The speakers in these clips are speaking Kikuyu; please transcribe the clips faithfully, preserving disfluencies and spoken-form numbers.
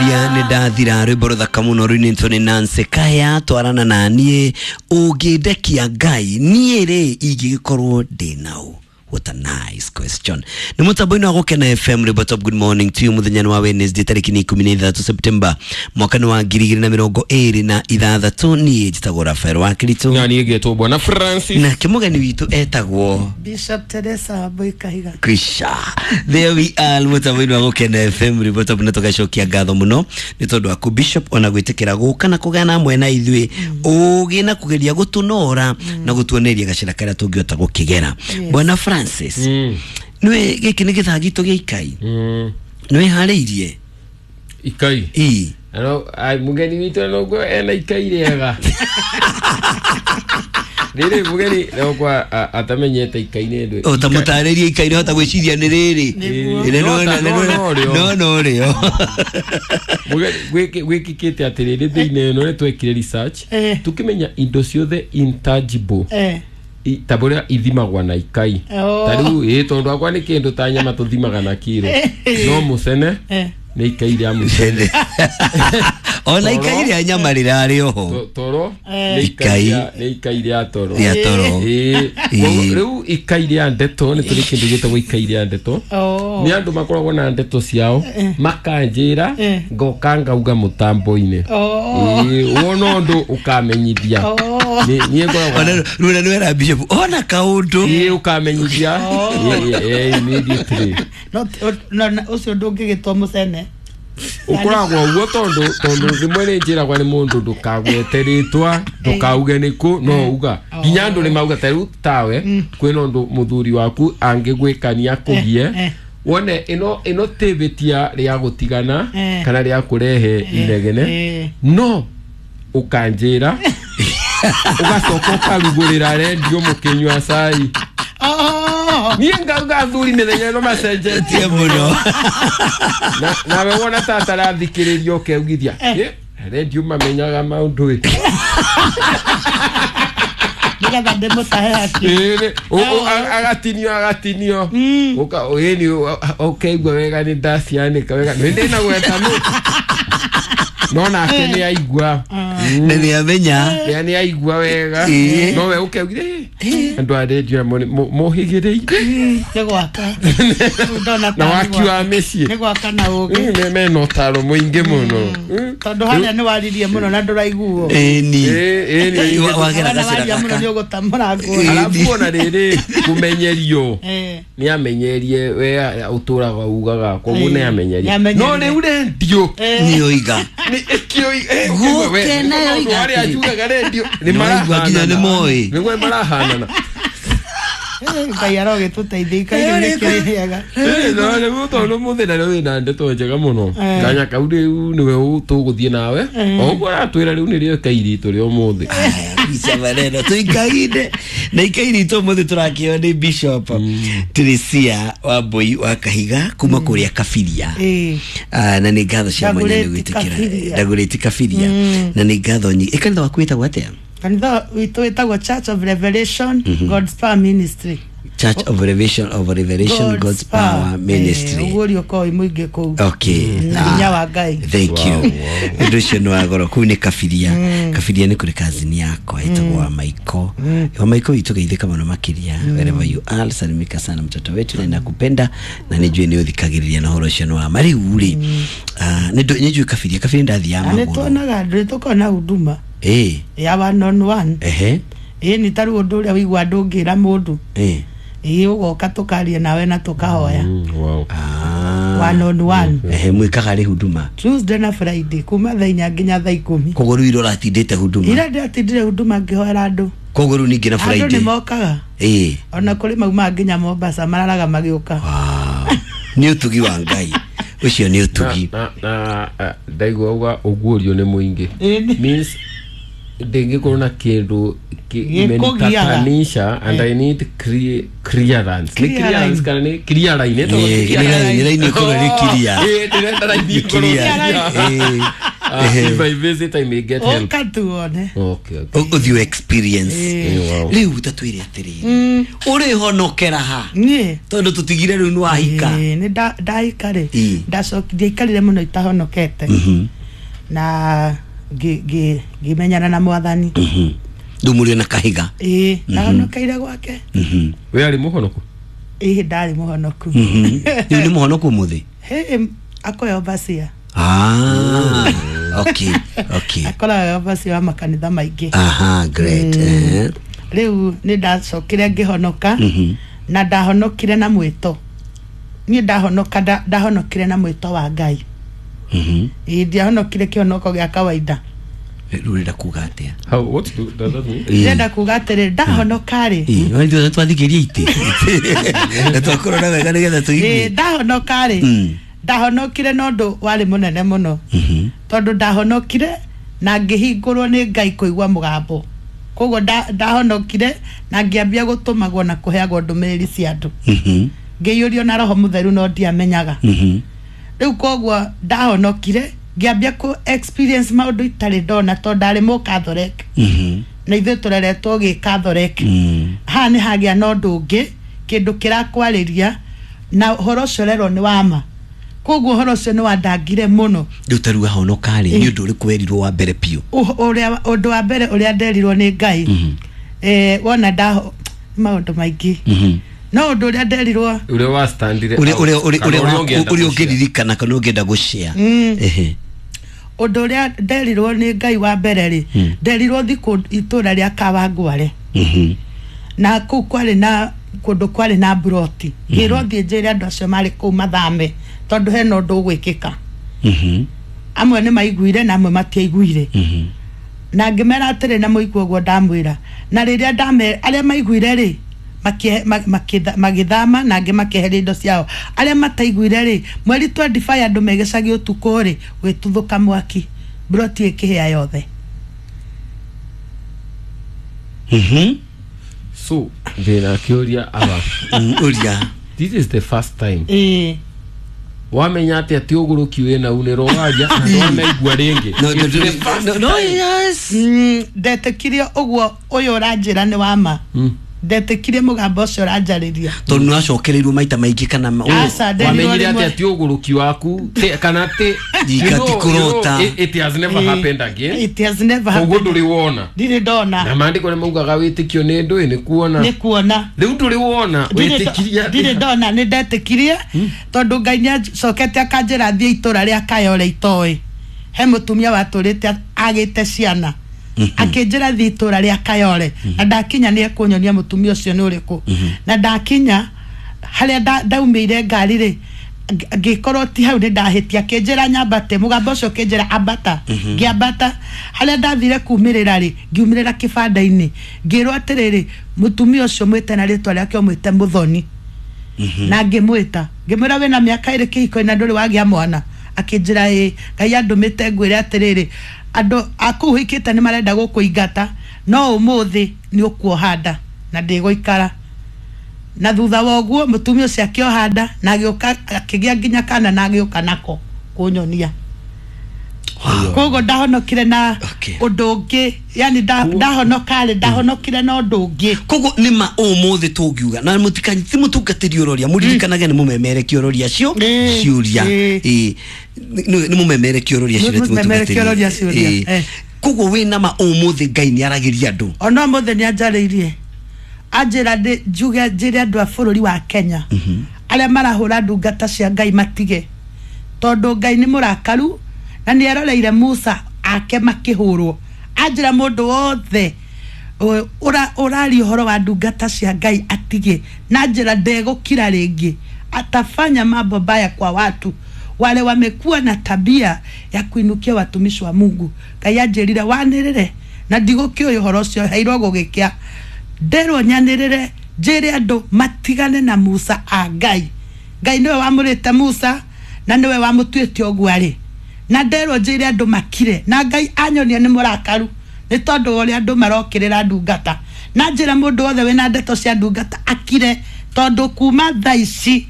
Ngwiciria nĩ ndathira rwĩmbo rũthaka mũno rũinĩtwo nĩ Nancy Kaya twarana na niĩ ũngĩndekia Ngai niĩ rĩ ingĩgĩkorwo ndĩ naũ. What a nice question. Nĩ mũtambo-inĩ wa Gũkena F M Rĩmbo Top, good morning to you. Mũthenya nĩ wa Wednesday tarĩki nĩ ikũmi na ithathatũ September mwaka nĩ wa ngiri igĩrĩ na mĩrongo ĩrĩ na ithathatũ. Niĩ njĩtagwo Rafael wa Kirito na niĩ ngetwo Bwana Francis na kĩmũgeni witũ etagwo Bishop Teresa Boy Kahiga. Krisha. There we are mũtambo-inĩ wa Gũkena F M Rĩmbo Top, na tũgacokia ngatho mũno nĩ tondũ waku Bishop ona gwĩtĩkĩra gũka na kũgana hamwe na ithuĩ ũgĩ na kũgeria gũtũnora na gũtuoneria gacĩra karĩa tũngĩhota gũkĩgera. Bwana Francis, Mm. nĩwe gĩkĩ nĩ gĩthaa gitũ gĩa ikai Mm. nĩwĩharĩirie ikai ii ano ai mugeni witũ noguo ena ikai rĩega rĩrĩ mugeni nokwa atamenyete ikai nĩ ndũ o ta mũtarĩrie ikai nĩhota gwĩciria nĩ rĩrĩ Ĩĩ, no ta- no no rĩo. no no rĩo Mugeni gwĩkĩkĩte atĩrĩrĩ thĩinĩ ĩno nĩ twekire research Eh. tukĩmenya indo ciothe intangible Eh. i- ta bũrĩa ithimagwa na ikai Oh. ta rĩu ĩ tondũ akwa nĩ kĩndũ ta nyama tũthimaga na kiro no mũcene Eh. nĩ ikai rĩa mũcene ona ikai rĩa nyama rĩrarĩ oho To- toro Eh. nĩ ikai Ikai. rĩa- nĩ ikai rĩa toro rĩa toro Ĩĩ. Ĩĩ. Koguo rĩu ikai rĩa ndeto nĩ tũrĩ kĩndũ gĩtagwo ikai rĩa ndeto Oh. nĩ andũ makoragwo na ndeto ciao makanjĩra Eh. ngoka ngauga mũtambo-inĩ Oh. Ĩĩ, wona ũndũ ũkamenyithia Oh. Nĩ- niĩ ngoragwo ona runa nĩwera Bishop ona kaũndũ ĩĩ ũkamenyithia Ĩĩ, ĩĩ, immediately No no na ũcio ndũngĩgĩtwo mũcene. ũkoragwo ũguo tondũ tondũ rĩmwe nĩ njĩragwa nĩ mũndũ ndũkagwete rĩtwa ndũkauge nĩkũ no uga nginya andũ nĩ mauga ta rĩu tawe kwĩna ũndũ mũthuri waku angĩgwĩkania kũgie eh. wone ĩno ĩno tĩbĩtia rĩa gũtigana Eh. kana rĩa kũrehe inegene Eh. no ũkanjĩra ũgacoka ũkarugũrĩra rendio mũkĩnyua cai Oh. niĩ ngauga athuri mĩthenya ĩno macenjetie tie mũno na nawe wona ta atarathikĩrĩria ũkeugithia "Ĩ, rendio mamenyaga maũndũ ĩ." Nĩgetha ndĩmũtahe haki. Ĩ, nĩ- ũ- ũ- a- agatinio agatinio Ũka- ĩni ũkeigua wega nĩ ndacianĩka wega nĩ ndĩna gweta nũ no nake nĩ aigua na nĩamenya nĩ nĩ aigua wega Ĩ. no we ũkeugithia "Ĩ, andũ a rendio aya mohĩgĩrĩire Nĩ gwaka. Ndona na ta waki wa mĩciĩ nĩ gwaka na ũgĩ. Mm, me- mena ũtaro mũingĩ mũno Mm. Tondũ harĩa nĩ waririe mũno na ndũraiguo. ĩni Ĩ, ĩ, nĩ- Wa- wagera Ona gacĩra waria mũno gaka nĩ ũgũtamũrangwo. Ĩ. arabu ona rĩrĩ kũmenyerio Eh. nĩ amenyerie we ũtũraga ugaga koguo nĩ amenyerie Nĩ no amenyerie. rĩu rendio Eh. nĩoiga nĩ ĩkĩoi Gũkena yoiga arĩa atĩrĩ. njugaga rendio nĩ Nĩwaigua nginya marahanana nĩ moĩ. nĩguo marahanana Eh, Ngai arogĩtũteithia ikai rĩu nĩkĩrĩ rĩega. Ĩ, no rĩu tondũ mũthenya rĩu wĩna ndeto njega mũno Eh. kanya kau rĩu nĩwe tũgũthiĩ nawe o ũguo aratwĩra rĩu nĩrĩo ikai ritũ rĩa ũmũthĩ Aya, maneno tuikaine na ikai ritũ ũmũthĩ tũrakĩo nĩ Bishop Teresia Wambui wa Kahiga kuma kũrĩa Kabiria. Ĩ. Ah, na nĩ ngatho cia mwanya nĩ Ndagũrĩti gwĩtĩkĩra Kabiria. Ndagũrĩti Kabiria na nĩ ngatho nyingĩ. Ĩ, kanitha waku wĩtagwo atĩa? Kanitha witũ wĩtagwo Church of Revelation God's Power Ministry. Church of Revelation of Revelation God's Power Ministry. Ũguo ũrĩa wĩ mũingĩ kũu. Okay. Na hinya wa Ngai. Thank you. Ũndũ ũcio nĩ wa goro kũu nĩ Kabiria. Kabiria nĩ kũrĩ kazini yakwa ĩtagwo wa Maiko. Wa Maiko witũ geithĩka mũno makĩria wherever you are, salimika sana mtoto wetu na ninakupenda na nĩnjũĩ nĩ ũthikagĩrĩria na ũhoro ũcio nĩ wa ma. Rĩu rĩ, ah, nĩ ndũ- nĩ njũĩ Kabiria. Kabiria ndathiaga Na nĩ magũrũ. tuonaga andũ nĩ tũkoragwo na huduma Ĩ, ya one on one. ehe, Ĩ nĩ ta rĩu ũndũ ũrĩa wĩigua ndũngĩra mũndũ. ĩ. Ĩ ũgoka tũkaria nawe na tũkahoya. Mm, wow. Ah. One on one. Ehe, mwĩkaga rĩ huduma? Tuesday na Friday kuma thaa inya nginya thaa ikũmi. Koguo rĩu ira ũratindĩte huduma? Ira ndĩratindire huduma ngĩhoera andũ. Koguo rĩu ningĩ na Andũ nĩ Friday? mokaga. Ĩ. Ona kũrĩ maumaga nginya Mombasa mararaga magĩũka. Wow. Nĩ ũtugi wa Ngai. Ũcio nĩ ũtugi. na na na ndaigua uga ũguũrio nĩ mũingĩ Ĩ, means ndĩngĩkorwo na kĩndũ ki- Gĩkũgiaga. imenitatanisha and I need crea- clearance nĩ Clear clearance line. kana nĩ clear line ĩtagwo Ĩ, clear nĩ line- nĩ line ĩkorwo ĩrĩ clear. Ĩ, ndĩrenda line ĩkorwo Clear. clear. Ĩ. Uh, if I visit I may get help. Ũka tuone. Okay, okay. Ũthiĩ experience. Ĩĩ. Wow. Rĩu tatwĩre atĩrĩrĩ, ũrĩhonokera ha? Niĩ Tondũ tũtigire rĩu nĩ wahika. Ĩĩ, nĩ nda- ndahika rĩ, Ĩĩ. ndacoki ndiaikarire mũno itahonokete, na ngĩ- ngĩ- ngĩmenyana na Mwathani. Rĩu mũrĩ na kahiga. Ĩĩ, ndahonokeire gwake. We arĩ mũhonoku? Ĩĩ, ndarĩ mũhonoku. Rĩu nĩ mũhonoku ũmũthĩ? Hĩ, akoya overseer. Ah, okay, okay. Akoraga overseer wa makanitha maingĩ. Aha, great. Eh. Rĩu nĩ ndacokire ngĩhonoka, na ndahonokire na mwĩto. Niĩ ndahonoka, nda- ndahonokire na mwĩto wa Ngai. Mhm. Ĩĩ, ndiahonokire kĩhonoko gĩa kawaida. Rĩu ũrenda kuga atĩa? How, what do, does that mean? Ndĩrenda kuga atĩrĩ, ndahonoka rĩ, Ĩĩ, wee ithuothe twathikirie itĩ na twakũrora wega nĩgetha ĩĩ, tũigue. ndahonoka rĩ, Mm. ndahonokire na ũndũ warĩ mũnene mũno, tondũ ndahonokire na ngĩhingũrwo nĩ Ngai kũigua mũgambo. Koguo nda- ndahonokire na ngĩambia gũtũmagwo na kũheagwo ndũmĩrĩri cia andũ, Mhm. ngĩiyũrio na Roho Mũtheru, no ndiamenyaga. Mhm. Rĩu koguo ndahonokire ngĩambia kũ experience maũndũ itarĩ ndona, tondũ ndarĩ mũkathorek, Mhm. na ithuĩ tũreretwo gĩkathorek. Mm. Haha nĩ hagĩa na ũndũ ũngĩ, kĩndũ kĩrakwarĩria, na ũhoro ũcio ũrerwo nĩ wama. Koguo ũhoro ũcio nĩ wandangire mũno. Rĩu ta rĩu wahonoka rĩ, nĩ ũndũ ũrĩkũ werirwo wa mbere biũ? Ũh- ũrĩa ũndũ wa mbere ũrĩa nderirwo nĩ Ngai, eh, wona ndaho maũndũ maingĩ, no ũndũ ũrĩa nderirwo, Ũrĩa wa standire Ũrĩa out. ũrĩa ũrĩa Kana ũrĩa ũrĩa wa- ũngĩenda ũrĩa gũshare. ũngĩririkana kana ũngĩenda gũshare. Ehe. Ũndũ ũrĩa nderirwo nĩ Ngai wa mbere rĩ, nderirwo thikũ itũra rĩa Kawangware, Mhm. na kũu kwarĩ na kũndũ kwarĩ na mburoti. Ngĩrwo thiĩ njĩre andũ acio marĩ kũu mathame, tondũ hena ũndũ ũgwĩkĩka. Mhm. Amwe nĩ maiguire na amwe matiaiguire. Mhm. Na ngĩmera atĩrĩ, na mũigua ũguo ndamwĩra, na rĩrĩa ndame arĩa maiguire rĩ, makie- ma- makĩtha- magĩthama, na angĩ makĩeheria indo ciao. Arĩa mataiguire rĩ, mweri twenty-five andũ megĩcagi ũtukũ rĩ, gwĩtuthũka mwaki, mburoti ĩkĩhĩa yothe. Mhm. So ndĩna kĩũria aba. Mm, ũria. This is the first time Ĩĩ. wamenya atĩ atĩ ũgũrũki wĩna unĩrwo waria na ndwanaigua rĩngĩ. No, no, It's the first no, no, yes. Mm, ndetĩkirie ũguo ũyũ ũranjĩra nĩ wama. Mm. Ndetĩkirie mũgambo ũcio ũranjarĩria. Tondũ nĩ wacokereirwo maita maingĩ kana ma- Aca, nderirwo Wamenyire rĩmwe. atĩ atĩ ũgũrũki waku ti- kana ti Ika you know- ti kũrota. you know, it, it has never Ĩĩ. happened again. It has never Koguo happened. ndũrĩ wona. Ndirĩ ndona. Na maandĩko nĩ maugaga wĩtĩkio nĩ ndũĩ nĩ kuona. Nĩ kuona. Rĩu ndũrĩ wona, Ndirĩ wĩtĩkirie ndo- ndirĩ atĩa? ndona. Nĩ ndetĩkirie tondũ Ngai nĩ acokete akanjĩra thiĩ itũra rĩa Kayore itoĩ he mũtumia watũrĩte agĩte ciana. Akĩnjĩra thiĩ itũra rĩa Kayore, na ndakinya nĩ ekũnyonia mũtumia ũcio nĩ ũrĩkũ. Na ndakinya harĩa nda- ndaumĩire ngari rĩ, ngĩ- ngĩkorwo ti hau, nĩ ndahĩtia. Akĩnjĩra nyambate, mũgambo ũcio ũkĩnjĩra ambata. Ngĩambata, harĩa ndathire kumĩrĩra rĩ, ngiumĩrĩra kĩbanda-inĩ, ngĩrwo atĩrĩrĩ, mũtumia ũcio mwĩte na rĩtwa rĩake, ũmwĩte Mũthoni. Na ngĩmwĩta, ngĩmwĩra, wĩna mĩaka ĩrĩ kĩhiko-inĩ na ndũrĩ wagĩa mwana? Akĩnjĩra ĩĩ. Ngai andũmĩte ngwĩre atĩrĩrĩ, andũ a kũu ũhikĩte nĩ marenda gũkũingata, no ũmũthĩ nĩ ũkuoha nda na ndĩgũikara. Na thutha wa ũguo mũtumia ũcio akĩoha nda na agĩũka akĩgĩa nginya kana na agĩũka nako kũnyonia. Koguo ndahonokire na Okay. ũndũ ũngĩ, yani nda- ndahonoka rĩ, ndahonokire na ũndũ ũngĩ. Koguo nĩ ma ũmũthĩ tũngiuga na mũtikanyi ti mũtungatĩri ũroria, mũririkanage nĩ mũmemerekia ũroria cio Ĩĩ, ciũria. ĩĩ. Ĩĩ. Nĩ nĩ mũmemerekia ũroria ciũria, ti Mũmemerekia ũroria mũtungatĩri. ciũria, Ĩĩ. eh. Koguo wĩna ma ũmũthĩ Ngai nĩ aragĩria andũ? Ona ũmũthĩ nĩ anjarĩirie, anjĩra ndĩ- njuge njĩre andũ a bũrũri wa Kenya arĩa marahũra ndungata cia Ngai matige, tondũ Ngai nĩ mũrakaru na nĩ eroreire Musa ake makĩhũrwo. Anjĩra mũndũ wothe ũ- ũra- ũraria ũhoro wa ndungata cia Ngai atige, na njĩra ndegũkira rĩngĩ, atafanya mambo baya kwa watu wale wamekuwa na tabia ya kuinukia watumishi wa Mungu. Ngai anjĩrire wanĩrĩre na ndigũkĩũĩ ũhoro ũcio heirwo gũgĩkĩa, nderwo nyanĩrĩre njĩre andũ matigane na Musa a Ngai. Ngai nĩwe wamũrĩte Musa na nĩwe wamũtuĩte ũguo arĩ, na nderwo njĩre andũ makire, na Ngai anyonia nĩ mũrakaru nĩ tondũ wa ũrĩa andũ marokĩrĩra ndungata, na njĩra mũndũ wothe wĩna ndeto cia ndungata akire, tondũ kuma thaa ici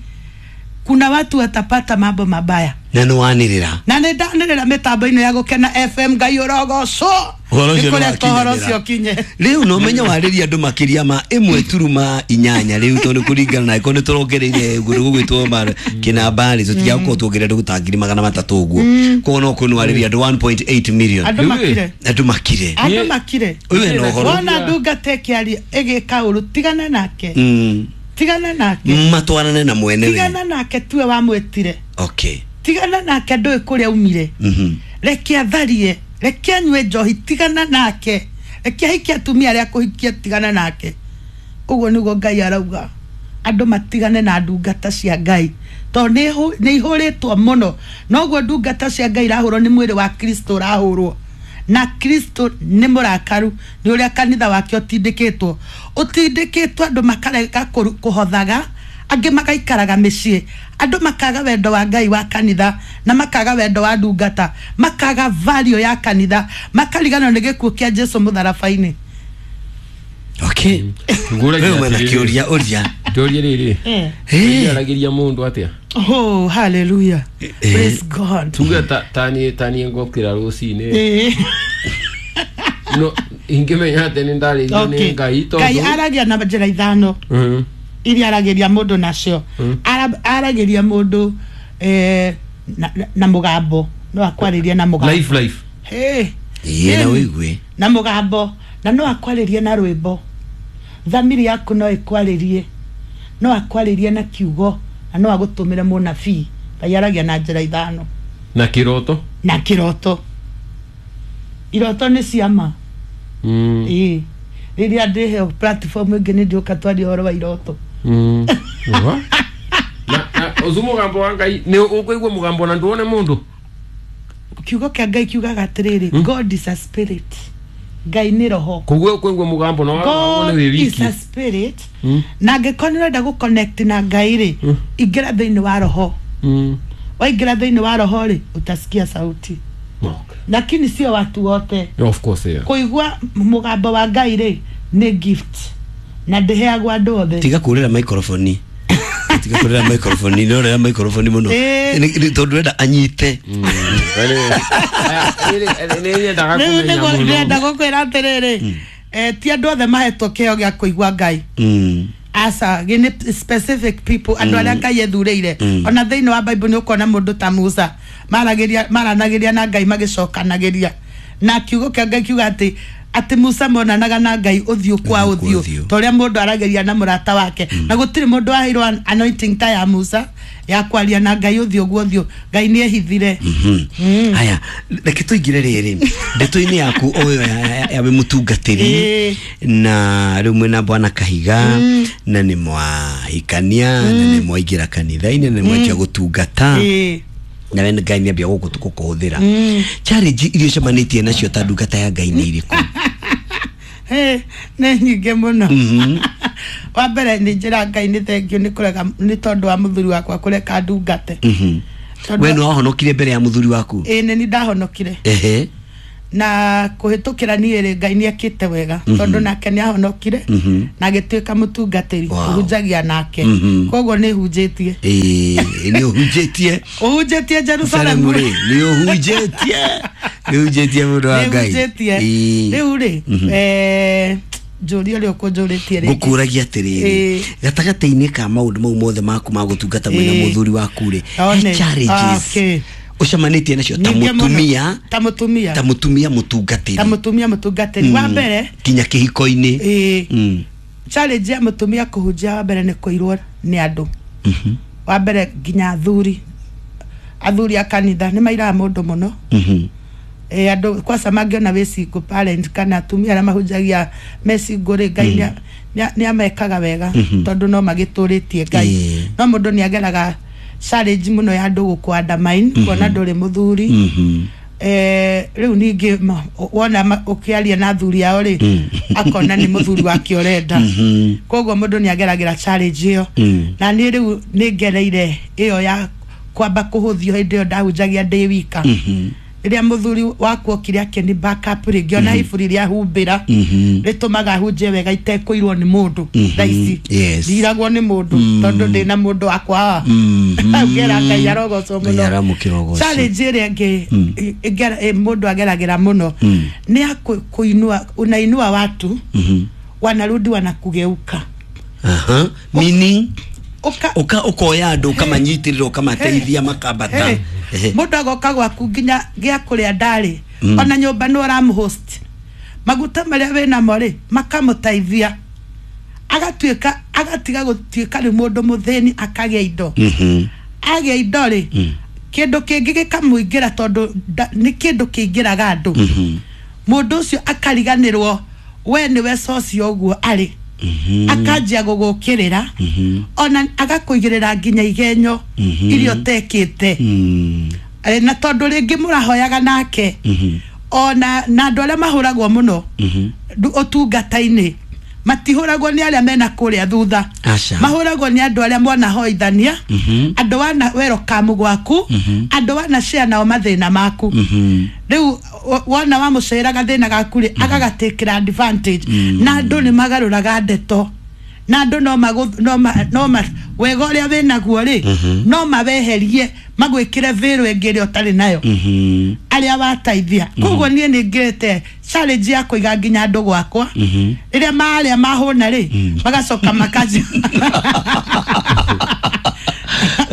kuna watu watapata mambo mabaya. Na nĩ wanĩrĩra. Na nĩ ndanĩrĩra mĩtambo-inĩ ya Gũkena F M Ngai ũrogocwo. Ũhoro ũcio Nĩ kũreka ũhoro nĩwakinyanĩra. ũcio ũkinye. Rĩu no menye warĩria andũ makĩria ma ĩmwe turuma inyanya rĩu tondũ kũringana na ĩkorwo nĩ tũrongereire ũguo gũgwĩtwo ma kĩnambarĩ tũtigakorwo tuongereire andũ ta ngiri magana matatũ ũguo. Koguo no kwĩ warĩria andũ one point eight million. Andũ Rĩu ĩ. makire. Andũ makire. Andũ Niĩ- makire. Ũyũ ena ũhoro. Wona ndungata ĩkĩaria ĩgĩka ũru tigana nake. Mm. Tigana nake. Matwarane na mwene we. Tigana nake tuwe wamwĩtire. Okay. Tigana nake ndũĩ kũrĩa umire. Mhm. Reke atharie, reke anyue njohi, tigana nake. Reke ahikie atumia arĩa akũhikia, tigana nake. Ũguo nĩguo Ngai arauga. Andũ matigane na ndungata cia Ngai. Tondũ nĩ ihũ-, nĩ ihũrĩtwo mũno. Noguo ndungata cia Ngai irahũrwo nĩ mwĩrĩ wa Kristo ũrahũrwo. Na Kristo nĩ mũrakaru nĩ ũrĩa kanitha wake ũtindĩkĩtwo. Ũtindĩkĩtwo andũ makarega kũru-, kũhothaga, angĩ magaikaraga mĩciĩ. Andũ makaga wendo wa Ngai wa kanitha na makaga wendo wa ndungata, makaga value ya kanitha, makariganĩrwo nĩ gĩkuũ kĩa Jesu mũtharaba-inĩ. Okay. Ngũragia Wewe mwena atĩrĩrĩ. kĩũria ũria. Ndũrie rĩrĩ. Eh. Eh. Aragĩria mũndũ atĩa? Oh, hallelujah. Eh. Praise God. Tuge ta tani tani ngokĩra rũcinĩ. Eh. No ingĩmenya atĩ nĩ ndarĩirio nĩ Okay. Ngai tondũ Ngai aragia na njĩra ithano. Mhm. Iria aragĩria mũndũ nacio. Mm. Ara-, aragĩria mũndũ, eh, na, na, na mũgambo. No akwarĩrie na mũgambo. Life, life. Hey. Ĩĩ, na Hey. ũigue. Na mũgambo. Na no akwarĩrie na rwĩmbo. Thamiri yaku no ĩkwarĩrie. No akwarĩrie na kiugo. Na no agũtũmĩre mũnabii. Ngai aragia na njĩra ithano. Na kĩroto? Na kĩroto. Iroto nĩ ciama. Mm. Ĩĩ. Rĩrĩa ndĩheo platform ĩngĩ nĩ ndĩũka twarie ũhoro wa iroto. Mm. Wa? Na, na, ũcio mũgambo wa Ngai, nĩ ũkũigua mũgambo na nduone mũndũ? Kiugo kĩa Ngai kiugaga atĩrĩrĩ, Mm. God is a spirit. Ngai nĩ roho. Koguo ũkũigua mũgambo na wone God wĩ is wiki. a spirit. Mm. Na angĩkorwo nĩ ũrenda gũ-connect na Ngai rĩ, Mm. ingĩra thĩinĩ wa roho. Mm. Waingĩra thĩinĩ wa roho rĩ, utasikia sauti. Okay. Lakini sio watu wote. Yeah, of course, yeah. Kũigua mũgambo wa Ngai rĩ, nĩ gift. Na ndĩheagwo andũ othe. Tiga kũrĩra microphone. Tiga kũrĩra microphone, nĩ ũrĩra microphone mũno. Eh. Nĩ, nĩ, tondũ ndĩrenda anyite. Mm. Nĩ nyendaga Rĩu kũmenya nĩguo mũno. ndĩrenda gũkwĩra atĩrĩrĩ, eh, ti andũ othe mahetwo kĩheo gĩa kũigua Ngai. Mm. Aca, gĩ nĩ specific people, andũ arĩa Ngai ethurĩire. Mm. Ona thĩinĩ wa Bible nĩ ũkuona mũndũ ta Musa, maragĩria, maranagĩria na Ngai magĩcokanagĩria. Na kiugo kĩa Ngai kiuga atĩ, atĩ Musa monanaga na Ngai ũthiũ kwa Ũthiũ kwa ũthiũ, ũthiũ. ta ũrĩa mũndũ aragĩria na mũrata wake. Na gũtirĩ mũndũ waheirwo anointing ta ya Musa ya kwaria na Ngai ũthiũ gwa ũthiũ. Ngai nĩ ehithire. Mhm. Haya, reke tũingĩre rĩrĩ ndeto-inĩ yaku ũyũ ya, ya, ya wĩ mũtungatĩri Ĩĩ. na rĩu mwĩna Bwana Kahiga na nĩ mwahikania na nĩ mwaingĩra kanitha-inĩ na nĩ mwanjia gũtungata. Ĩĩ. Na we Ngai nĩ ambia gũkũ gũkũhũthĩra. Challenge iria ũcemanĩtie nacio ta ndungata ya Ngai nĩ irĩkũ? Hey, nĩ nyingĩ mũno. Mhm. Wa mbere nĩ njĩra Ngai nĩ thengiũ nĩ kũrega, nĩ tondũ wa mũthuri wakwa kũreka ndungate. Mhm. Tondũ We nĩ wahonokire mbere ya mũthuri waku? Ĩĩ, nĩ niĩ ndahonokire. Ehe. Na kũhĩtũkĩra niĩ rĩ, Ngai nĩ ekĩte wega, Mhm. tondũ nake nĩ ahonokire, Mhm. na agĩtuĩka mũtungatĩri, Wow. ũhunjagia nake. Mhm. Koguo nĩ hunjĩtie. Ĩĩ, nĩ ũhunjĩtie. Ũhunjĩtie Jerusalemu Jerusalemu rĩ, nĩ ũhunjĩtie. Nĩ ũhunjĩtie mũndũ wa Nĩ Ngai. ũhunjĩtie. Ĩĩ. Rĩu rĩ, Mhm. eh, njũria ũrĩa ũkũnjũrĩtie rĩngĩ. Ngũkũragia atĩrĩrĩ, Ĩĩ. gatagatĩ-inĩ ka maũndũ mau mothe maku ma gũtungata mwĩna Ĩĩ. mũthuri waku rĩ, One. he challenges Okay. ũcemanĩtie nacio ta Nyingĩ mũno. mũtumia, Ta mũtumia. ta mũtumia mũtungatĩri. Ta mũtumia mũtungatĩri. Wa mbere, nginya kĩhiko-inĩ. ĩĩ, Mm. challenge ya mũtumia kũhunjia wa mbere nĩ kũirwo nĩ andũ. Mhm. Wa mbere nginya athuri. Athuri a kanitha nĩ mairaga mũndũ mũno. Mhm. Eh, andũ kwaca mangĩona wĩ single parent kana atumia arĩa mahunjagia me single rĩ, Ngai nĩa-, nĩa-, nĩamekaga wega, Mhm. tondũ no magĩtũrĩtie Ngai. Ĩĩ. No mũndũ nĩageraga challenge mũno ya andũ gũkũ undermine, kuona ndũrĩ mũthuri. Mhm. Eh, rĩu ningĩ ma-, wona ma-, ũkĩaria na athuri ao rĩ, Mm. akona nĩ mũthuri wake ũrenda. Mhm. Koguo mũndũ nĩageragĩra challenge ĩyo. Mm. Na niĩ rĩu nĩ ngereire ĩyo ya kwamba kũhũthio hĩndĩ ĩyo ndahunjagia ndĩ wika. Mhm. Rĩrĩa mũthuri wakwa okire akĩni backup rĩ, ngĩona iburi rĩa humbĩra rĩtũmaga hunjie wega itekũirwo nĩ mũndũ thaa ici. Yes. Ndiragwo nĩ mũndũ tondũ ndĩna mũndũ wakwa haha. Ngera Ngai arogocwo Ngai mũno. aramũkĩra ũgoci. Challenge ĩrĩa ĩngĩ ĩngera- ĩ- mũndũ ageragĩra mũno nĩ ya kũ- kũinua, unainua watu wanarudi wanakugeuka. Aha. Meaning Ũka- uka ukoya andũ ũkamanyitĩrĩra ũkamateithia makambata. Hey, Ehe. mũndũ agoka gwaku nginya gĩa kũrĩa ndarĩ ona nyũmba nĩ ũramũhost, maguta marĩa wĩnamo rĩ makamũteithia, agatuĩka agatiga gũtuĩka nĩ mũndũ mũthĩni, akagĩa indo. Mhm. Agĩa indo rĩ, kĩndũ kĩngĩ gĩkamũingĩra tondũ nda- nĩ kĩndũ kĩingĩraga andũ. Mũndũ ũcio akariganĩrwo we nĩwe socio ũguo arĩ, akanjia gũgũkĩrĩra ona agakũigĩrĩra nginya igenyo iria ũtekĩte. Mm. Eh, na tondũ rĩngĩ mũrahoyaga nake ona na andũ arĩa mahũragwo mũno ndu- ũtungata-inĩ matihũragwo nĩ arĩa mena kũrĩa thutha. Aca. Mahũragwo nĩ andũ arĩa mwanahoithania, andũ wana werokamu gwaku, andũ wana share nao mathĩna maku. Rĩu wo- wona wamũcerera gathĩna gaku rĩ, agagatakĩra advantage, na andũ nĩ magarũraga ndeto, na andũ no magũ- no ma- no ma wega ũrĩa wĩnaguo rĩ no maweherie magwĩkĩre vĩrũ ĩngĩ ĩrĩa ũtarĩ nayo Mhm. arĩa wateithia. Koguo niĩ nĩ ngĩrĩte challenge ya kũiga nginya andũ gwakwa rĩrĩa marĩa mahũna rĩ magacoka makaji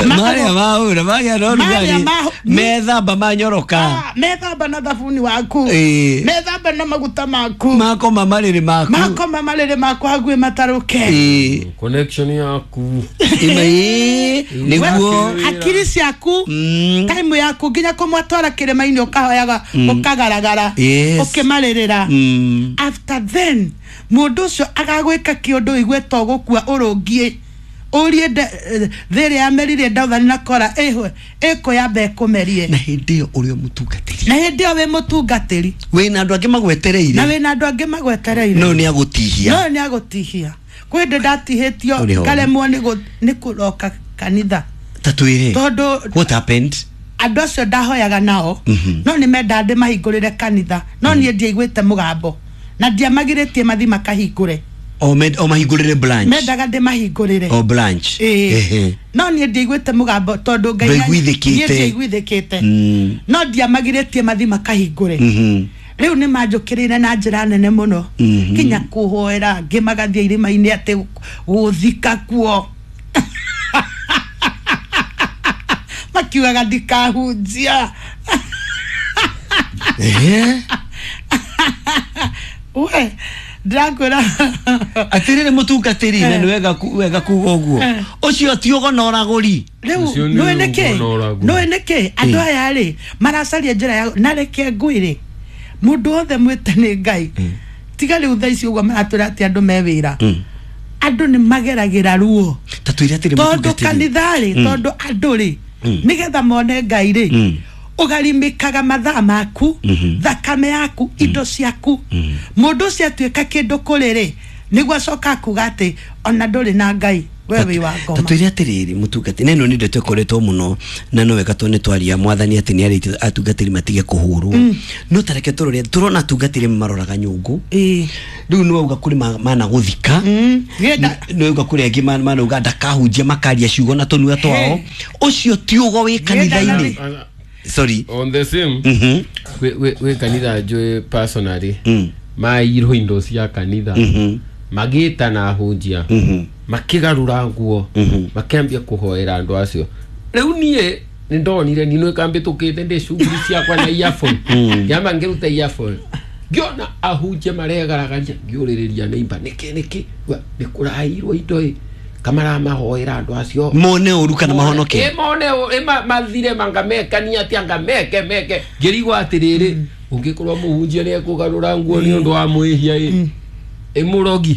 Marĩa mahũra magĩa na Marĩa ũrugarĩ mahu- methamba manyoroka. Methamba na thabuni waku, Ĩĩ. methamba na maguta maku, makoma marĩrĩ maku, makoma marĩrĩ maku hakuhĩ matarũke. Ĩĩ. Connection yaku. Ĩma, ĩĩ, nĩguo. Hakiri ciaku, Mm. time yaku, nginya kũmwatwara kĩrĩma-inĩ ũkahoyaga ũkagaragara Yes. ũkĩmarĩrĩra. Mm. After then mũndũ ũcio agagwĩka kĩũndũ igue to gũkua ũrũngiĩ ũrie thĩ ĩrĩa yameririe Dathani na Kora ĩhwe ĩkũyamba ĩkũmerie. Na hĩndĩ ĩyo ũrĩ o mũtungatĩri. Na hĩndĩ ĩyo wĩ mũtungatĩri. Wĩna andũ angĩ magwetereire. Na wĩna andũ angĩ magwetereire. No nĩ agũtihia. No nĩ agũtihia. Kwĩ hĩndĩ ndatihĩtio Ũrĩ ho. ngaremwo nĩ gũ- nĩ kũroka kanitha. Ta twĩre tondũ what happened. Andũ acio ndahoyaga nao no nĩ mendaga ndĩmahingũrĩre kanitha, no niĩ ndiaiguĩte mũgambo na ndiamagirĩtie mathi makahingũre. O med- o mahingũrĩre branch. Mendaga ndĩmahingũrĩre. O branch. Ĩĩ. Ehe. No niĩ ndiaiguĩte mũgambo tondũ Ngai Ndwaiguithĩkĩte. niĩ ndiaiguithĩkĩte. Mm. No ndiamagirĩtie mathi makahingũre. Mhm. Rĩu nĩ manjũkĩrĩire na njĩra nene mũno, nginya kũhoera ngĩ magathiĩ irĩma-inĩ atĩ gũthika kuo, makiugaga ndikahunjia. Ehe. We ndĩrakwĩra. Atĩrĩrĩ mũtungatĩri, na nĩ wega ku- wega kuga ũguo, ũcio ti ũgonoragũri. Rĩu Ũcio nĩ nũĩ nĩkĩ ũgonoragũri. Nũĩ nĩkĩ andũ aya rĩ maracaria njĩra ya na reke ngwĩre, mũndũ wothe mwĩte nĩ Ngai, tiga rĩu thaa ici ũguo maratwĩra atĩ andũ me wĩra, andũ nĩ mageragĩra ruo. Ta twĩre atĩrĩ tondũ mũtungatĩri. Kanitha rĩ, tondũ andũ rĩ nĩgetha mone Ngai rĩ, Mm. ũgarimĩkaga mathaa maku, thakame yaku, indo ciaku. Mũndũ ũcio atuĩka kĩndũ kũrĩ rĩ, nĩguo acoka akuga atĩ ona ndũrĩ na Ngai, we wĩ wa Ta ngoma. twĩre atĩrĩrĩ mũtungatĩri, na ĩno nĩ ndeto ĩkoretwo mũno na no wega tondũ nĩ twaria mwathani atĩ nĩ arĩtie atungatĩri matige kũhũrwo, no tareke tũrore, tũrona atungatĩri maroraga nyũngũ. Ĩĩ. Rĩu nĩ wauga kũrĩ ma- mana gũthika. Mm. Gĩenda- Nĩ wauga kũrĩ angĩ ma- manauga ndakahunjia, makaria ciugo na tũnua twao. Ũcio ti ũgo wĩ kanitha-inĩ, sorry. On the same, Mhm. wĩ- wĩ wĩ kanitha njũĩ personally Mm. mairwo indo cia kanitha, Mhm. magĩtana ahunjia, Mhm. makĩgarũra nguo, makĩambia kũhoera andũ acio. Rĩu niĩ nĩ ndonire ninũ ĩkambĩtũkĩte ndĩ cuguri ciakwa na earphone, ngĩamba ngĩruta earphone, ngĩona ahunjia maregaragaria, ngĩũrĩrĩria neighbor, nĩkĩ nĩkĩ? Wa, nĩ kũrairwo indo ĩ kamaramahoera andũ acio mone ũru kana mahonoke. Ĩ, mone ũ- ĩ, ma- mathire mangamekania atĩ anga meke meke ngĩrigwo atĩrĩrĩ, ũngĩkorwo mũhunjia nĩ ekũgarũra nguo nĩ ũndũ wa mwĩhia ĩ ĩ mũrogi,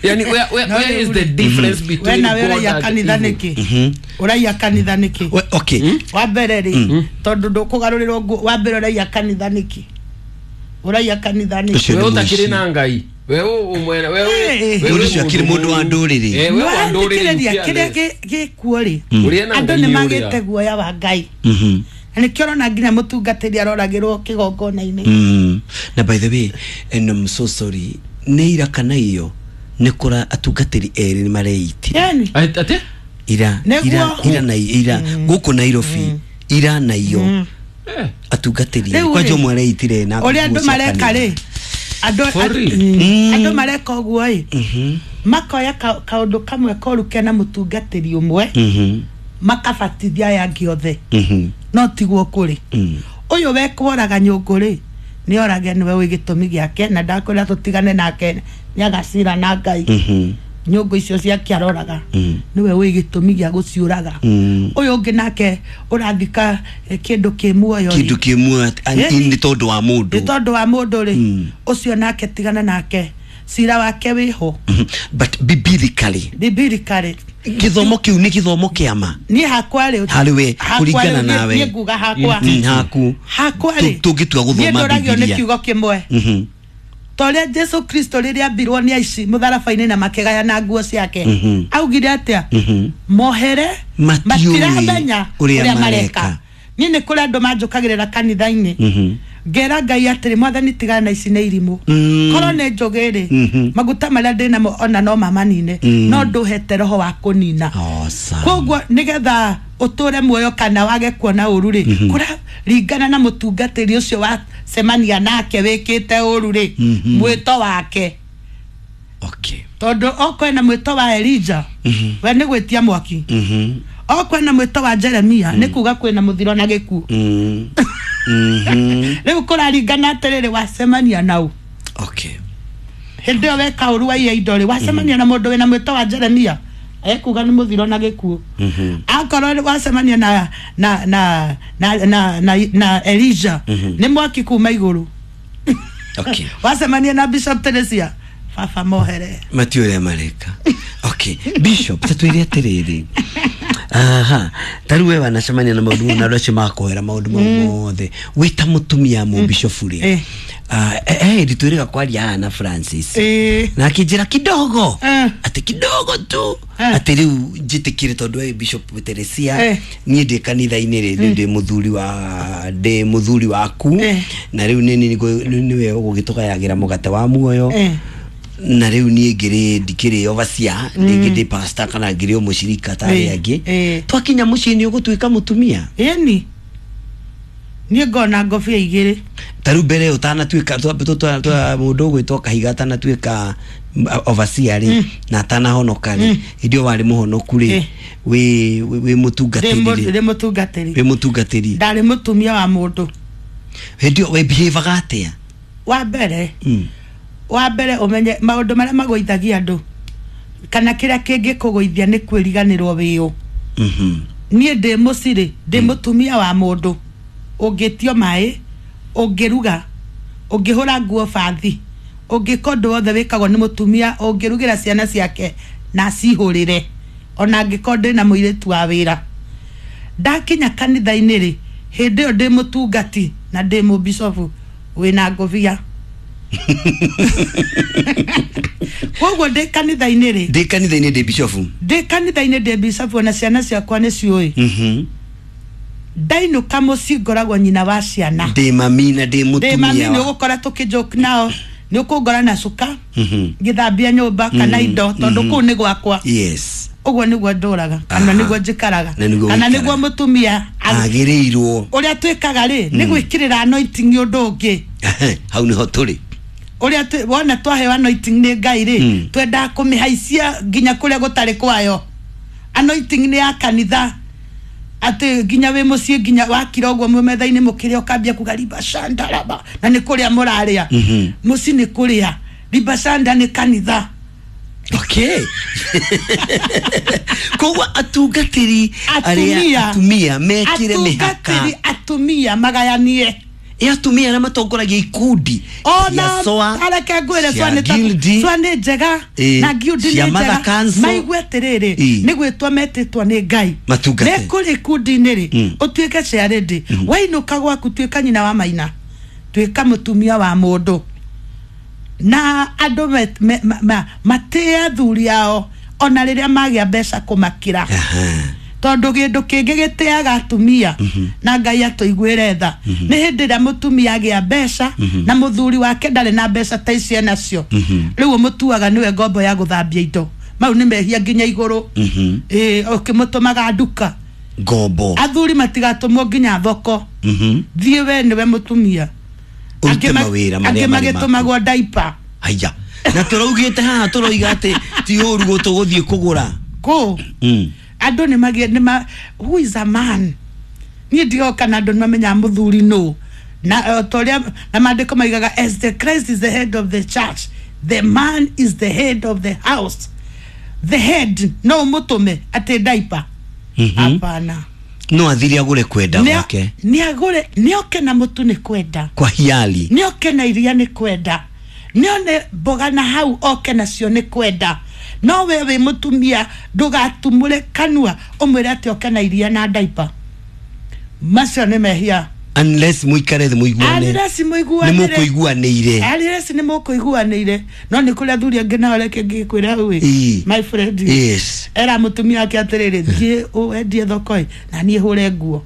yani where, where, No, where is the rĩu- difference we between nawe God ũraiya and kanitha evil? nĩkĩ? Ũraiya kanitha nĩkĩ? We- okay. Wa mbere rĩ, tondũ ndũkũgarũrĩrwo nguo, wa mbere ũraiya kanitha nĩkĩ? Ũraiya kanitha nĩkĩ? Ũcio We nĩ ũtakĩrĩ mũici. na Ngai, we ũ- ũmwene we Eh, we Mũndũ ũcio akĩrĩ mũndũ wa ndũrĩrĩ. Eh, we wa ndũrĩrĩ. Nĩwathikĩrĩria kĩrĩa gĩ- gĩkuo rĩ, Ũrĩa na andũ Ngai nĩ nĩ magĩte ũrĩa. guoya wa Ngai. Mhm. Na nĩkĩo ũrona nginya mũtungatĩri aroragĩrwo kĩgongona-inĩ. Mm. Na by the way, and I'm so sorry, nĩ ira kana iyo nĩ kũra atungatĩri erĩ nĩ mareitire. Yani Ati? Ira Nĩguo. ira ira na ira gũkũ Nairobi ira na iyo Eh. atungatĩri Rĩu erĩ kwanja rĩ, ũmwe areitire na ũrĩa andũ nguo cia mareka kanitha. rĩ, andũ For a- real? mm, andũ mareka ũguo ĩ, Mhm. makoya ka- kaũndũ kamwe koru kena mũtungatĩri ũmwe, Mhm. makabatithia aya angĩ othe. Mhm. No tiguo kũrĩ. Mm. Ũyũ wekworaga nyũngũ rĩ, nĩ orage, nĩwe wĩ gĩtũmi gĩake, na ndakwĩra tũtigane nake, nĩ agacira na Ngai. Mhm. Nyũngũ icio ciake aroraga, Mm. nĩwe wĩ gĩtũmi gĩa gũciũraga. Mm. Ũyũ ũngĩ nake ũrathika eh, kĩndũ kĩ muoyo rĩ, Kĩndũ kĩ muoyo Ĩni. nĩ tondũ wa nĩ mũndũ. tondũ wa mũndũ rĩ, Mm. ũcio nake tigana nake, cira wake wĩho. Mhm. But biblically, biblically, gĩthomo kĩu nĩ gĩthomo kĩa ma? Niĩ hakwa rĩ, Harĩ we, hakwa kũringana rĩ, nawe. niĩ nguga hakwa, Mm, haku hakwa rĩ, Tũ- tũngĩtua niĩ gũthoma ndũragio nĩ Bibilia. kiugo kĩmwe. Mhm. Ta ũrĩa Jesu Kristo rĩrĩa ambirwo nĩ aici mũtharaba-inĩ na makĩgayana nguo ciake, Mhm. augire atĩa? Mhm. Mohere, Matiũĩ matiramenya ũrĩa ũrĩa mareka. mareka. Niĩ nĩ kũrĩ andũ manjũkagĩrĩra kanitha-inĩ, Mhm. ngera Ngai atĩrĩ, Mwathani, tigana na ici nĩ irimũ. Mm. Korwo nĩ njũgĩ rĩ, Mhm. maguta marĩa ndĩ namo ona no mamanine, Mm. no ndũhete roho wa kũnina. Awesome. Koguo nĩgetha ũtũre muoyo kana wage kuona ũru rĩ, kũraringana na mũtungatĩri ũcio wacemania nake wĩkĩte ũru rĩ, Mhm. mwĩto wake. Okay. Tondũ okwena mwĩto wa Elija, we nĩ gwĩtia mwaki. Mhm. Okwena mwĩto wa Jeremia, nĩ kuga kwĩna mũthiro na gĩkuũ. Mm. Mhm. Rĩu kũraringana atĩrĩrĩ, wacemania nau. Okay. Hĩndĩ ĩyo weka ũru waiya indo rĩ, wacemania na mũndũ wĩna mwĩto wa Jeremia, ekuga nĩ mũthiro na gĩkuũ. Mhm. Akorwo wacemania na na na na na na, na Elijah, nĩ mwaki kuma igũrũ. Okay. Wacemania na Bishop Teresia, baba mohere. Matiũ ũrĩa mareka. Okay. Bishop, ta twĩre atĩrĩrĩ. Aha. Ta rĩu we wanacemania na maũndũ mau na andũ acio makoera maũndũ mau mothe. Wĩ ta mũtumia mũbishofu rĩ. Eh. Ah, eh, eh, twĩrĩga kwaria haha na Francis. Eh. Na akĩnjĩra kidogo. Eh. Atĩ kidogo tu. Eh. Atĩ rĩu njĩtĩkĩre tondũ we Bishop Teresia, Eh. niĩ ndĩ kanitha-inĩ rĩ, rĩu ndĩ mũthuri wa ndĩ mũthuri waku, Eh. na rĩu nĩ nĩwe ũgũgĩtũgayagĩra mũgate wa muoyo, Eh. na rĩu niĩ ngĩrĩ ndikĩrĩ overseer, rĩngĩ ndĩ pastor kana ngĩrĩ o mũcirika ta arĩa Eh, angĩ. eh. Twakinya mũciĩ nĩ ũgũtuĩka mũtumia? Ĩni niĩ ngona ngobia igĩrĩ. Ta rĩu mbere ũtanatuĩka twa- twa- twa- twa- mũndũ ũgwĩtwo Kahiga atanatuĩka mm, overseer rĩ, na atanahonoka rĩ, hĩndĩ ĩyo warĩ mũhonoku rĩ, Eh. wĩ wĩ- wĩ ndĩ mũtungatĩri mũ- rĩ, ndĩ mũtungatĩri. Wĩ mũtungatĩri. Ndarĩ mũtumia wa mũndũ. Hĩndĩ ĩyo we behavior atĩa? Wa mbere, Mm. wa mbere ũmenye maũndũ marĩa magũithagia andũ kana kĩrĩa kĩngĩkũgũithia nĩ kwĩriganĩrwo wĩũ. Mhm. Niĩ ndĩ mũcirĩ, ndĩ mũtumia wa mũndũ ũngĩtio maĩ, ũngĩruga, ũngĩhũra nguo bathi, ũngĩka ũndũ wothe wĩkagwo nĩ mũtumia, ũngĩrugĩra ciana ciake na acihũrĩre, ona angĩkorwo ndĩ na mũirĩtu wa wĩra. Ndakinya kanitha-inĩ rĩ, hĩndĩ ĩyo ndĩ mũtungati na ndĩ mũbicobu wĩna ngũbia. Koguo ndĩ kanitha-inĩ rĩ, Ndĩ kanitha-inĩ ndĩ bishofu. Ndĩ kanitha-inĩ ndĩ bicobu, ona ciana ciakwa nĩ ciũĩ. Mhm. Ndainũka mũciĩ ngoragwo nyina wa ciana. Ndĩ mami na ndĩ Ndĩ mami. mũtumia Nĩ wa- ũgũkora tũkĩjoke nao, nĩ ũkũngora na cuka Mhm. ngĩthambia nyũmba kana indo, tondũ kũu nĩ gwakwa. Yes. Ũguo nĩguo ndũraga kana Aha. nĩguo njikaraga Na nĩguo kana ũikaraga. nĩguo mũtumia a- Agĩrĩirwo. Ũrĩa twĩkaga rĩ, nĩ gwĩkĩrĩra anointing ũndũ ũngĩ. Hau nĩho tũrĩ. Ũrĩa twĩ- wona twaheo anointing nĩ Ngai rĩ, Mm. twendaga kũmĩhaicia nginya kũrĩa gũtarĩ kwayo. Anointing nĩ ya kanitha, atĩ nginya wĩ mũciĩ, nginya wakira ũguo mwĩ metha-inĩ mũkĩrĩa, ũkambia kuga riba shanda raba, na nĩ kũrĩa mũrarĩa. Mhm. Mũciĩ nĩ kũrĩa, riba shanda nĩ kanitha. Okay, koguo atungatĩri arĩa Atumia. atumia mekire mĩhaka. Atungatĩri atumia magayanie. Ĩ atumia arĩa matongoragia ikundi Ona cia S O A, areke ngwĩre, cia S O A nĩ ta- guild, S O A nĩ njega, Ĩ, na guild cia nĩ Mother njega. Council. Maigue atĩrĩrĩ, Ĩ. nĩ gwĩtwo metĩtwo nĩ Ngai Matungate. nĩ kũrĩ ikundi-inĩ rĩ, Mm. ũtuĩke ciarĩndĩ, wainũka gwaku tuĩka nyina wa maina, tuĩka mũtumia wa mũndũ, na andũ me- me- ma- ma- matĩe athuri ao ona rĩrĩa magĩa mbeca kũmakĩra. Aha. Tondu gindu kingi gitiaga atumia na Ngai atuiguire tha ni hindi ria mutumia agia mbeca na muthuri wake ndari na mbeca ta icio enacio riu mutuaga niwe ngombo ya guthambia indo mau ni mehia nginya iguru eh ukimutumaga nduka ngombo athuri matigatumwo nginya thoko thie we niwe mutumia urute mawira maria magitumagwo diaper haya na turaugite haha turoiga ati ti uru gutuguthie kugura ku andu ni magie ni ma who is a man ni ndioka na andu ni mamenya muthuri no na toria na mandiko maigaga as the Christ is the head of the church, the man is the head of the house. The head no mutume ati diaper hapana no athiri agure kwenda gwake ni agure ni oke na mutu ni kwenda kwa hiali ni oke na iria ni kwenda ni one mboga na hau oke nacio ni kwenda no we wi mutumia ndugatumure kanua umwire ati oke na iria na diaper macio ni mehia unless muikare thi muiguane unless muiguane ni mukuiguanire unless ni mukuiguanire no ni kuri athuri angi nao reke ngikwira wi my friend yes era mutumia ake atiriri thie wendie thoko na nie hure nguo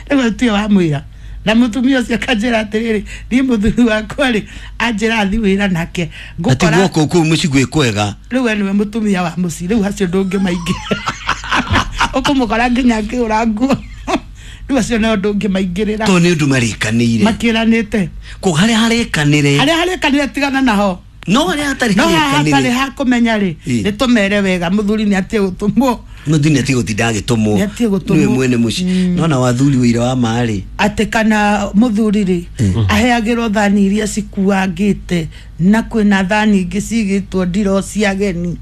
riu tio wa mwira na mutumia ucio akanjira atiriri nie muthuri wakwa ri anjira thi wira nake ngukora ati guoko kuu muci gwi kwega riu we niwe mutumia wa muci riu hacio ndungimaingi ukumukora nginya akihura nguo riu acio nao ndungimaingirira to ni undu marikanire makiranite ko haria harikanire haria harikanire tigana naho no haria hatari no hatari hakumenya ri ni tumere wega muthuri ni atie gutumwo muthuri ni atie gutinda agitumwo niwe mwene muci nona wathuri wira wa mari ati kana muthuri ri aheagirwo thani iria cikuangite na kwina thani ingi cigitwo ndiro cia ageni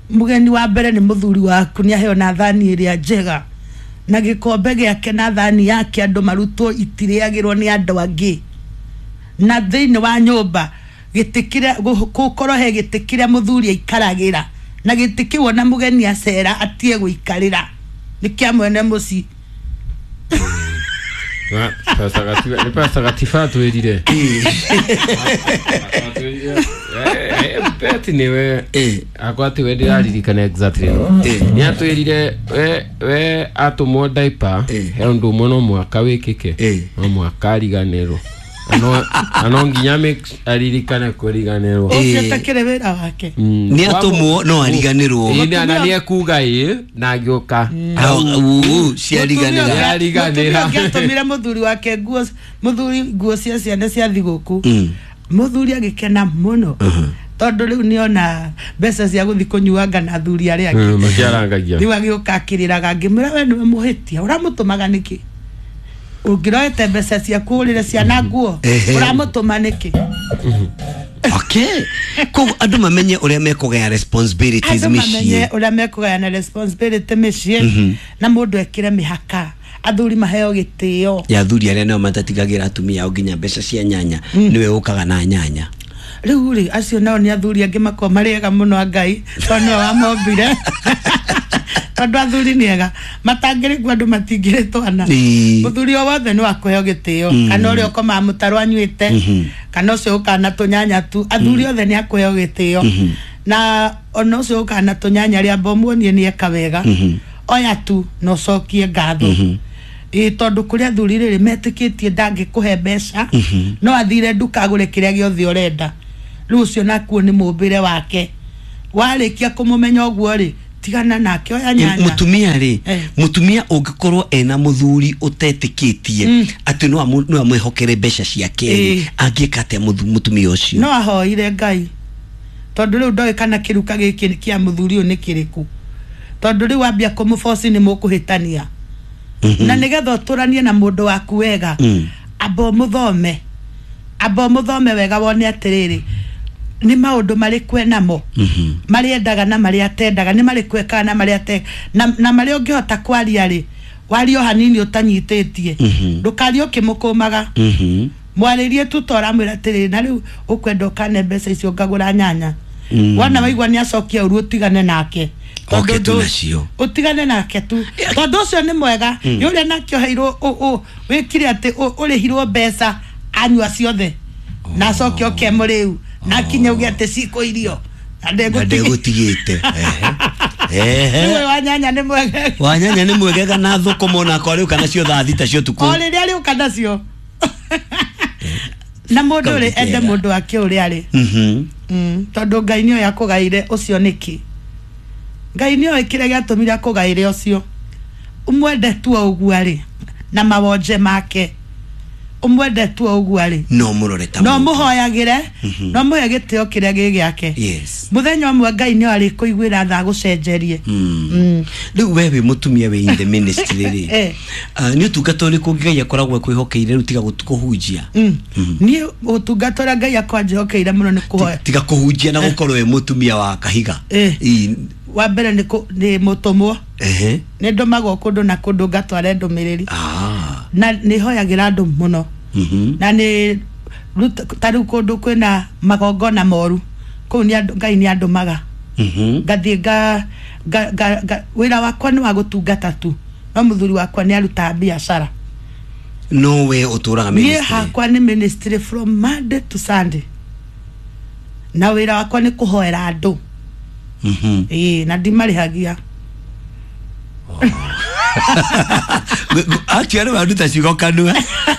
mugeni wa mbere ni muthuri waku ni aheo na thani iria njega na gikombe giake na thani yake andu marutwo itiriagirwo ni andu angi na thiini wa nyumba gitikira gukorwo he gitikira muthuri aikaragira na gitikiwo na mugeni acera atie guikarira ni kia mwene muci na pasa gatifa ni pasa gatifa twirire eh beti niwe akwa ati we ndiraririkana exactly no ni atwirire we we atumwo diaper he undu umwe no mwaka wikike no mwaka ariganirwo ano ano nginya make aririkane kuriganirwo ucio takire wira wake ni atumwo no ariganirwo ni na ni ekuga ii na ngioka au ciariganira ariganira atumire muthuri wake nguo muthuri nguo cia ciana cia thiguku muthuri agikena muno tondu riu niona mbeca cia guthi kunyuanga na athuri aria angi makiarangagia riu agioka akiriraga ngimwira we niwe muhitia uramutumaga niki ungiroete mbeca cia kũgũrĩra ciana nguo ũramũtũma nĩkĩ okay koguo andũ mamenye ũrĩa mekũgaya responsibilities andũ mamenye mĩciĩ ũrĩa mekũgayana responsibility mĩciĩ na mũndũ ekĩre mĩhaka athuri maheo gĩtĩo ya athuri arĩa nao matatigagĩra atumia ao nginya mbeca cia nyanya niwe ũkaga na nyanya rĩu rĩ acio nao nĩ athuri angĩ makorwo marĩ ega mũno a Ngai tondũ nĩwe wamombire tondu athuri ni ega matangĩrĩkwo andũ matingĩrĩ twana muthuri o wothe nĩ wakũheo gĩtĩo kana ũrĩa ũkomaga mũtaro anyuĩte kana ũcio ũkaga na tũnyanya tu athuri othe nĩ akũheo gĩtĩo na ona ũcio ũkaga na tũnyanya rĩamba ũmuonie nĩ eka wega oya tu na ũcokie ngatho ĩ tondu kũrĩ athuri rĩrĩ metĩkĩtie ndangĩkũhe mbeca no athire nduka agũre kĩrĩa gĩothe ũrenda rĩu ũcio nakuo nĩ mũmbĩre wake warĩkia kũmũmenya ũguo rĩ tigana nake oya nyanya mutumia ri mutumia ungikorwo ena muthuri utetikitie ati no no amwihokere mbeca ciake angika atia mutumia ucio no ahoire Ngai tondu riu ndoĩ kana kiruka giki kia muthuri uyu ni kiriku tondu riu ambia kumuboci ni mukuhitania na nigetha uturanie na mundu waku wega amba muthome amba muthome wega wone atiriri ni maundu marikwe namo mariendaga na maria atendaga ni marikwe kana na maria ate na, na maria ungihota kwaria ri wario hanini utanyititie ndukarie ukimukumaga mwaririe tu tora mwira atiriri na riu ukwenda ukane mbeca icio ngagura nyanya wana waigua ni acokia uru utigane nake oke tu nacio utigane nake tu tondu ucio ni mwega yuria nake oheirwo wikire ati urihirwo mbeca anyua ciothe na acoke oke muriu na kinya uge ati ciko irio Na Na ndegũtigĩte. Ndegũtigĩte. Ehe. Rĩu wanyanya nĩ mwegega. Wanyanya nĩ mwegega na thũkũma onakwa rĩu kana cio thaa thita cia ũtukũ. O rĩrĩa rĩũka nacio na mũndũ rĩ ende Kaũndũ kega. Mũndũ wake ũrĩa arĩ. Mhm. Mm, tondũ Ngai nĩoĩ akũgaire ũcio nĩkĩ. Ngai nĩoĩ kĩrĩa gĩatũmire akũgaire ũcio. Ũmwende tu o ũguo arĩ na mawonje make, ũmwende tu o ũguo arĩ. No mũrore ta No mũndũ. Mũhoyagĩre, no mũhe gĩtĩo kĩrĩa gĩ gĩake. Yes. Mũthenya ũmwe Ngai nĩo arĩkũiguĩra tha gũcenjerie. Mm. Rĩu we wĩ mũtumia wĩ in the ministry rĩ, Eh. Ah, nĩ ũtungata ũrĩkũ Ngai akoragwo akwĩhokeire rĩu tiga gũtu- kũhunjia? Mm. Niĩ ũtungata ũrĩa Ngai akwa njĩhokeire mũno nĩ kũhoya. Tiga kũhunjia na gũkorwo wĩ mũtumia wa kahiga. Eh. Ii, wa mbere nĩ kũ- nĩ mũtũmwo. Ehe. Nĩ ndũmagwo kũndũ na kũndũ ngatware ndũmĩrĩri. Ah. Na nĩ hoyagĩra andũ mũno. Mhm. Na nĩ ruta- ta rĩu kũndũ kwĩna magongona moru kũu nĩ andũ- Ngai nĩ andũmaga. Mhm. Ngathiĩ nga, nga, nga, nga wĩra wakwa nĩ wa gũtungata tu, no mũthuri wakwa nĩ arutaga biacara. No we ũtũraga Niĩ ministry. hakwa nĩ ministry from Monday to Sunday, na wĩra wakwa nĩ kũhoera andũ. Mhm. Ĩĩ, na ndimarĩhagia. Actually waruta ciugo kanua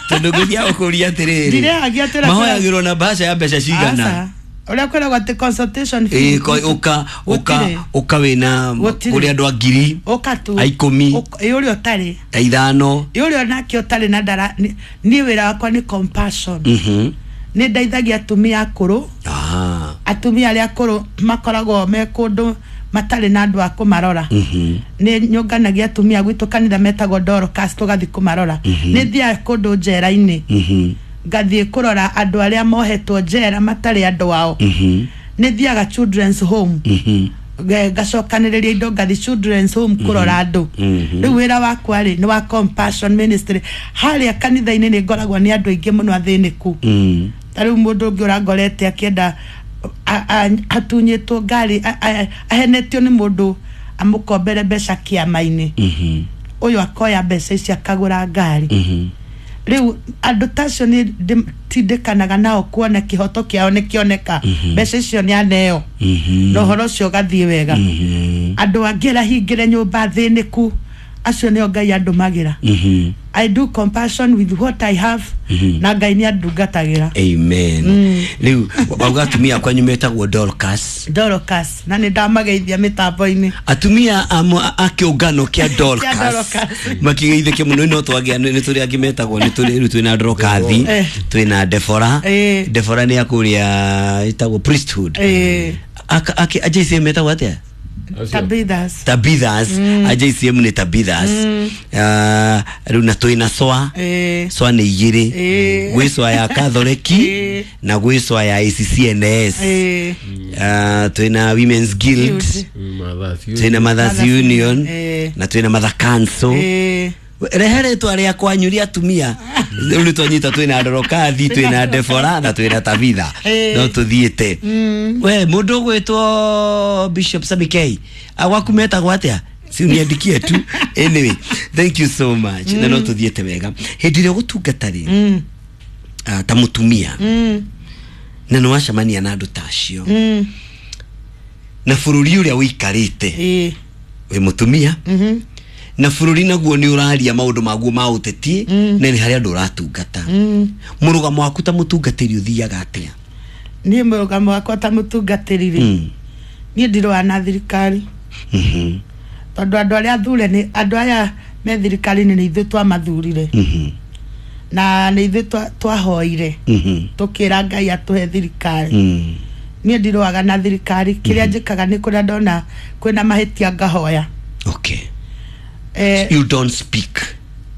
tondũ ngũthiaga gũkũria atĩrĩrĩ, Ndirĩhagia atĩrĩ- mahoyagĩrwo na mbaca ya mbeca cigana? Aca. Ũrĩa kwĩragwo atĩ consultation fee. Ĩĩ, ko- ũka ũka Gũtirĩ. Ũka wĩna Gũtirĩ. kũrĩ andũ a ngiri ũka tu a ikũmi. Ũka- ĩ ũrĩa ũtarĩ a ithano. Ĩ ũrĩa onake ũtarĩ na ndara nĩ- niĩ wĩra wakwa nĩ compassion. Mhm. Nĩ ndeithagia atumia akũrũ. Ah. Atumia arĩa akũrũ makoragwo me kũndũ matarĩ na andũ a kũmarora. Mhm. Nĩ nyũnganagia atumia gwitũ kanitha metagwo Dorcas, tũgathiĩ kũmarora. Nĩ thiaga kũndũ njera-inĩ. Mhm. Ngathiĩ kũrora andũ arĩa mohetwo njera matarĩ andũ ao. Mhm. Nĩ thiaga children's home. Mhm. Nge- ngacokanĩrĩria indo ngathi children's home kũrora andũ. Mhm. Rĩu wĩra wakwa rĩ nĩ wa compassion ministry. Harĩa kanitha-inĩ nĩ ngoragwo nĩ andũ aingĩ mũno athĩnĩku. Mm. Ta rĩu mũndũ ũngĩ ũrangorete akĩenda a- a- atunyĩtwo ngari, a- a- ahenetio nĩ mũndũ amũkombere mbeca kĩama-inĩ. Mhm. Ũyũ akoya mbeca ici akagũra ngari. Mhm. Rĩu andũ ta acio nĩ tindĩkanaga nao kuona kĩhoto kĩao nĩ kĩoneka, mbeca icio nĩ aneo, Mhm. na ũhoro ũcio ũgathiĩ wega. Mhm. Andũ angĩ arahingĩre nyũmba thĩnĩku, acio nĩo Ngai andũmagĩra. Mhm. I do compassion with what I have, na Ngai nĩ andungatagĩra. Amen. Rĩu wauga atumia akwanyu metagwo Dorcas? Dorcas, na nĩ ndamageithia mĩtambo-inĩ. Atumia amwe a kĩũngano kĩa Dorcas Dorcas. Makigeithĩke mũno. No twagĩa nĩ tũrĩ angĩ metagwo, nĩ tũrĩ rĩu twĩna Dorcathi, Eh. twĩna Defora. Eh. Defora nĩ akũrĩa ĩtagwo priesthood. Eh. Aka- ake a J C M metagwo atĩa? Tabithas. Tabithas. A J C M nĩ Tabithas. Ah, rĩu na twĩna Swa. Eh. Swa nĩ igĩrĩ. Eh. Gwĩ Swa ya Katholeki Eh. na gwĩ Swa ya A C C N S. Eh. Ah, twĩna Women's Guild, Guild. twĩna Mothers Mothers Union, Eh. na twĩna Mother Council. Eh. Rehe rĩtwa rĩa kwanyu rĩa atumia. Rĩu nĩ twanyita twĩna Dorokathi, twĩna Defora na twĩna Tabitha. Eh. No tũthiĩte we mũndũ ũgwĩtwo Bishop Samikei gwaku metagwo atĩa? Si uniandikie tu. Anyway, thank you so much, na no tũthiĩte wega. Hĩndĩ ĩrĩa ũgũtungata rĩ, Mm. ah, ta mũtumia, Mm. na nĩ wacemania na andũ ta acio, Mm. na bũrũri ũrĩa ũikarĩte, Eh. wĩ mũtumia, Mhm. na bũrũri naguo nĩ ũraria maũndũ maguo ma ũteti, na nĩ harĩ andũ ũratungata, Mm. mũrũgamo waku ta mũtungatĩri ũthiaga atĩa? Niĩ mũrũgamo wakwa ta mũtungatĩri rĩ, Mm. niĩ ndirũa na thirikari, Mhm. tondũ andũ arĩa athure nĩ andũ aya me thirikari-inĩ nĩ ithuĩ twamathurire, Mhm. na nĩ ithuĩ twa- twahoire, Mhm. tũkĩra Ngai atũhe thirikari. Mm. Niĩ ndirũaga na thirikari. Kĩrĩa njĩkaga nĩ kũrĩa ndona kwĩna mahĩtia ngahoya. Okay. Eh, you don't speak,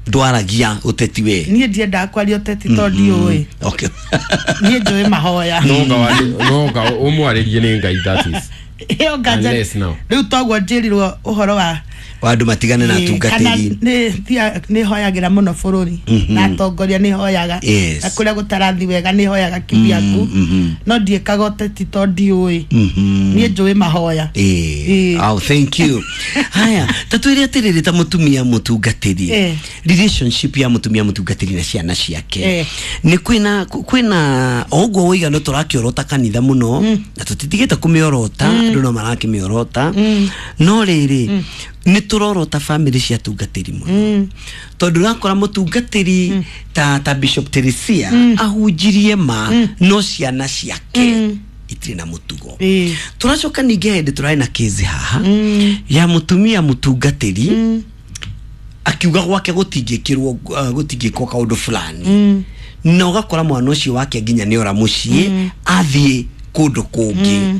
ndwaragia ũteti we? Niĩ ndiendaga kwaria ũteti tondũ ndiũĩ. Okay. Niĩ njũĩ mahoya. Nonga ũmwarĩrie nĩ Ngai, that is Ĩyo nganja. Unless now. Rĩu toguo njĩrirwo ũhoro wa Wa andũ matigane na Ĩĩ, kana atungatĩri. nĩ thia- nĩ hoyagĩra mũno bũrũri na atongoria nĩ hoyaga. Yes. Na kũrĩa gũtarathi wega nĩ hoyaga kibyaku, no ndiĩkaga ũteti tondũ ndiũĩ. Niĩ njũĩ mahoya. Ĩĩ. Ĩĩ. Oh, thank you. Haya, ta twĩre atĩrĩrĩ, ta mũtumia mũtungatĩri, Eh. relationship ya mũtumia mũtungatĩri na ciana ciake, Eh. nĩ kwĩna kwĩna o ũguo waiga no tũrakĩorota kanitha mũno na tũtitigĩte kũmĩorota, andũ no marakĩmĩorota, no rĩrĩ nĩ tũrorota bamĩrĩ cia atungatĩri mũno, tondũ ũrakora mũtungatĩri ta ta Bishop Teresia ahunjirie ma, no ciana ciake itirĩ na mũtugo. Ĩĩ. Tũracoka ningĩ hĩndĩ tũrarĩ na kĩzi haha ya mũtumia mũtungatĩri akiuga gwake gũtingĩkĩrwo, uh, gũtingĩkwo kaũndũ fulani, na ũgakora mwana ũcio wake nginya nĩ ora mũciĩ athiĩ kũndũ kũngĩ.